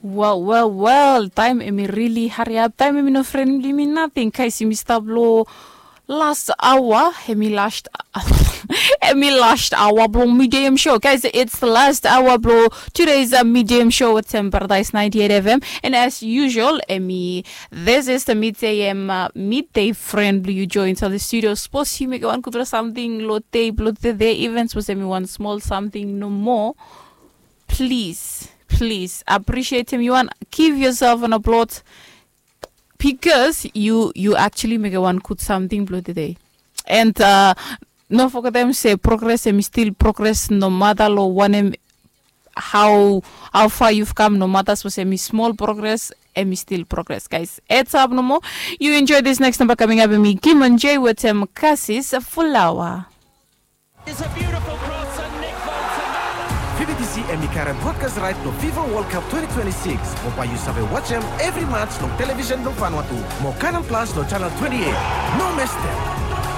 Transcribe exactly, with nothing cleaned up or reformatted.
Wel, wel, wel, taem em i rili hariap, taem em i no frenli mi nating, guys, yumi stap long last hour, em i last em i last hour blong midday em show, guys, it's the last hour blong today's uh, midday em show with Tem Paradise ninety-eight F M. And as usual, em i this is the midday em uh, midday friend blong yu join to the studio. Suppose yu mekem wan gudfala samting long dei blong today, even suppose em i wan small samting nomo, please, please appreciate him. You want give yourself an applaud because you you actually mekem wan gud samting blong today. And uh, no fogetem se progress em i still progress no matter long wanem, how how far you've come, no matter suppose em i small progress, em i still progress, guys. Heads up nomo. You enjoy this next number coming up, em i Kim and Jay with em Kasis Fulawa. It's a beautiful cross and Nick Bolton. Fifa D C em i karem broadcast right blong Fifa World Cup twenty twenty-six. Mo bae yu save wajem evri match long television blong Vanuatu mo Canal Plus long channel twenty-eight. No mestem.